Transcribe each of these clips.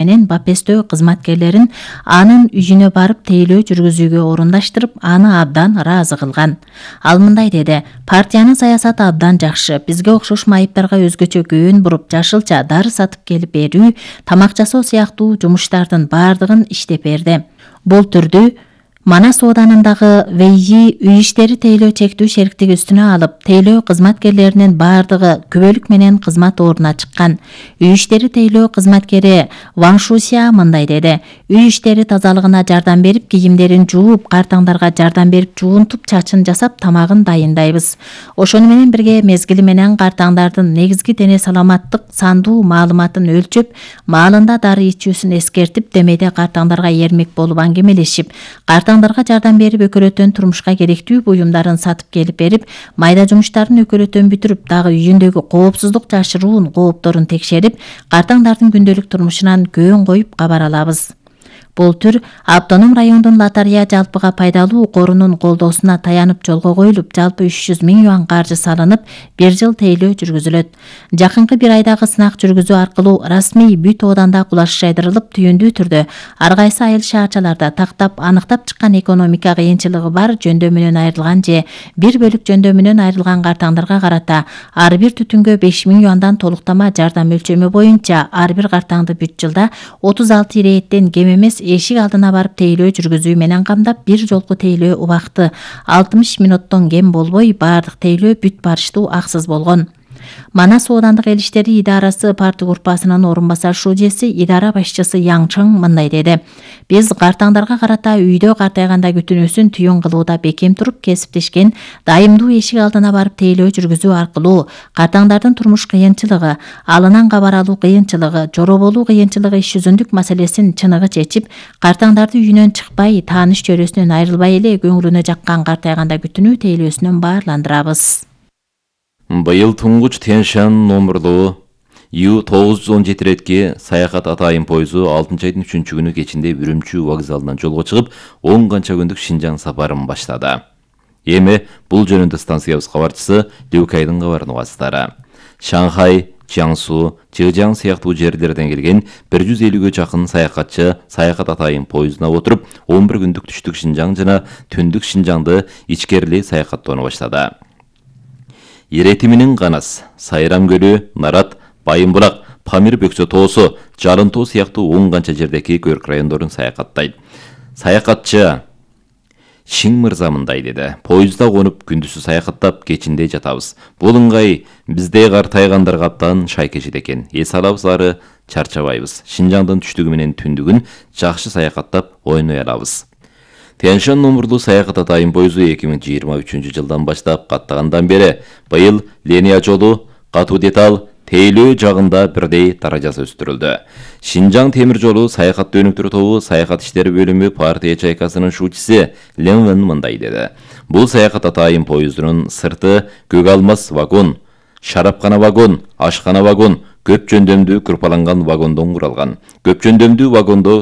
менен Бапестөө кызматкерлерин анын үйүнө барып тейлөө жүргүзүүгө орундаштырып, аны абдан ыраазы кылган. Ал мындай деди: партиянын саясаты абдан жакшы. Бизге окшош майыптарга өзгөчө көөн буруп, жашылча дары сатып келип берүү, тамак жасоо сыяктуу жумуштардын баардыгын иштеп берди. Бул түрдүү Манас ооданындагы ВИИ үй иштери тейлөө чектүү шериктиги үстүнө алып, тейлөө кызматкерлеринин баардыгы күбөлүк менен кызмат ордуна чыккан. Үй иштери тейлөө кызматкери Ван Шусия мындай деди: үй иштери тазалыгына жардам берип, кийимдерин жууп, картаңдарга жардам берип, жуунтуп, чачын жасап, тамагын дайындайбыз. Ошону менен бирге мезгили менен картаңдардын негизги дене саламаттык сандуу маалыматын өлчөп, маалында дары ичүүсүн эскертип, демейде картаңдарга эрмек болуп аңгемелешип, картаңдарга жардам берип, өкөлөтөн турмушка керектүү буюмдарын сатып келип берип, майда жумуштарын өкөлөтөн бүтүрүп, дагы үйүндөгү коопсуздук жашыруун коопторун текшерип, картаңдардын күндөлүк турмушунан көөн коюп кабар алабыз. Бул түр автоном райондун лотарея жалпыга пайдалуу корунун колдоосуна таянып жолго коюлуп, жалпы 300 000 юан каржы салынып, 1 жыл тейлөө жүргүзүлөт. Жакынкы 1 айдагы сынак жүргүзүү аркылуу расмий бүт ооданда кулаш жайдырылып, түйүндүү түрдө ар кайсы айыл шаарчаларда тактап, аныктап чыккан экономика кыйынчылыгы бар жөндөмүнөн айрылган же бир бөлүк жөндөмүнөн айрылган картаңдарга карата ар бир түтүнгө 5 000 юандан толуктама жардам өлчөмү боюнча ар бир картаңды бүт жылда 36 ирээттен кем эмес эшик алдына барып тейлөө жүргүзүү менен камдап, бир жолку тейлөө убакыты 60 мүнөттөн кем болбой, баардык тейлөө бүт барыштуу аксыз болгон. Манас оодандык эл иштери идарасы парты группасынын орун басар шужеси, идара башчысы Яң Чың мындай деди: биз картаңдарга карата үйдө картайганда күтүнүүсүн түйүн кылууда бекем туруп, кесиптешкен дайымдуу эшик алдына барып тейлөө жүргүзүү аркылуу картаңдардын турмуш кыйынчылыгы, алынан кабар алуу кыйынчылыгы, жороболуу кыйынчылыгы, иш жүзүндүк маселесин чыныгы чечип, картаңдарды үйүнөн чыкпай, тааныш чөрөсүнөн айрылбай эле көңүлүнө жаккан картайганда күтүнүү тейлөөсүнөн баарландырабыз. Быйыл туңгуч Тянь-Шань номурлуу Ю-917 ретки саякат атайын пойызу 6 айдын 3-күнү кечинде Үрүмчү вокзалынан жолго чыгып, 10 канча күндүк Шинжаң сапарын баштады. Эми бул жөнүндө станциябыз кабарчысы Люкайдын кабарын угасыздар. Шанхай, Jiangsu, Zhejiang сыяктуу жерлерден келген 150-гө жакын саякатчы саякат атайын пойызына отуруп, 11 күндүк түштүк Шинжаң жана түндүк Шинжаңды ичкерилей саякаттоону баштады. Иретиминин Канас, Сайрам көлү, Нарат, Байымбурак, Памир бөксө тоосу, Жарын тоо сыяктуу 10 канча жердеги көрк райондорун саякаттайт. Саякатчы Шиң мырза мындай деди: поездда конуп күндүзү саякаттап, кечинде жатабыз. Бул ыңгай бизде картайгандарга абдан шайкешит экен. Эс алабыз ары чарчабайбыз. Шинжаңдын түштүгү менен түндүгүн жакшы саякаттап ойной алабыз. Тянь-Шань номурлуу саякат атайын пойызу 2023 жылдан баштап каттагандан бери быйыл линия жолу, катуу деталь, тейлөө жагында бирдей даражасы өстүрүлдү. Шинжаң темир жолу саякат өнүктүрүү тобу саякат иштери бөлүмү партия чайкасынын шуучусы Лен Вен мындай деди: бул саякат атайын пойыздын сырты көк алмас вагон, шарапкана вагон, ашкана вагон, көп жөндөмдүү кырпаланган вагондон куралган. Көп жөндөмдүү вагондо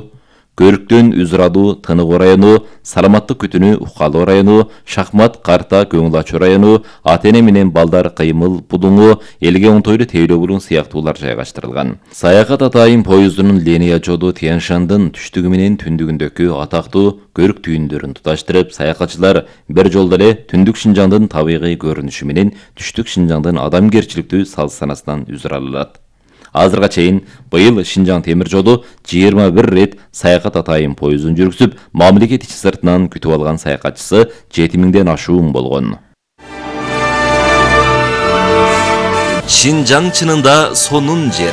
Көрктөн Үзрадуу, Тыныгы району, Саламаттык күтүнүү Укалуу району, Шахмат, Карта, Көңүл ачуу району, Атене менен Балдар, Кыймыл, Будуңу, Элге Онтойлу, Тейлөө булун сыяктуулар жайгаштырылган. Саякат атайын пойыздын линия жолу Тянь-Шандын түштүгү менен түндүгүндөгү атактуу көрк түйүндөрүн туташтырып, саякатчылар бир жолдо эле түндүк Шинжаңдын табигый көрүнүшү менен түштүк Шинжаңдын адамгерчиликтүү салт-санасынан үзүр алат. Азырга чейин быйыл Шинжаң темир жолу 21 рет саякат атайын пойызын жүргүзүп, мамлекет ичи сыртынан күтүп алган саякатчысы 7000ден ашуун болгон. Шинжаң чынында сонун жер.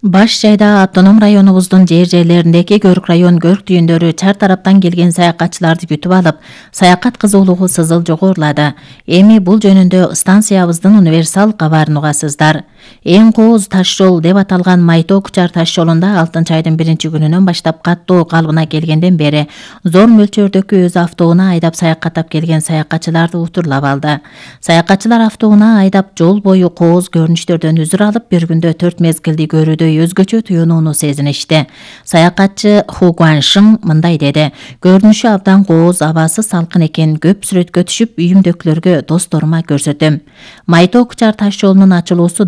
Баш жайда автоном районубуздун жерлериндеги көрк район көрк түйүндөрү чар тараптан келген саякатчыларды күтүп алып, саякат кызуулугу сызыл жогорулады. Эми бул жөнүндө станциябыздын универсал кабарын угасыздар. Эң кооз таш жол деп аталган Майтоо-Кучар таш жолунда 6 айдын 1-күнүнөн баштап каттоо калыбына келгенден бери зор мөлчөрдөгү өз автоуна айдап саякаттап келген саякатчыларды утурлап алды. Саякатчылар автоуна айдап жол бою кооз көрүнүштөрдөн үзүр алып, бир күндө 4 мезгилди көрүүдөй өзгөчө туюнууну сезиништи. Саякатчы Ху Гуаншың мындай деди: "Көрүнүшү абдан кооз, абасы салкын экен. Көп сүрөткө түшүп, үйүмдөгүлөргө, досторума көрсөтөм. Майто Кучар таш жолунун ачылуусу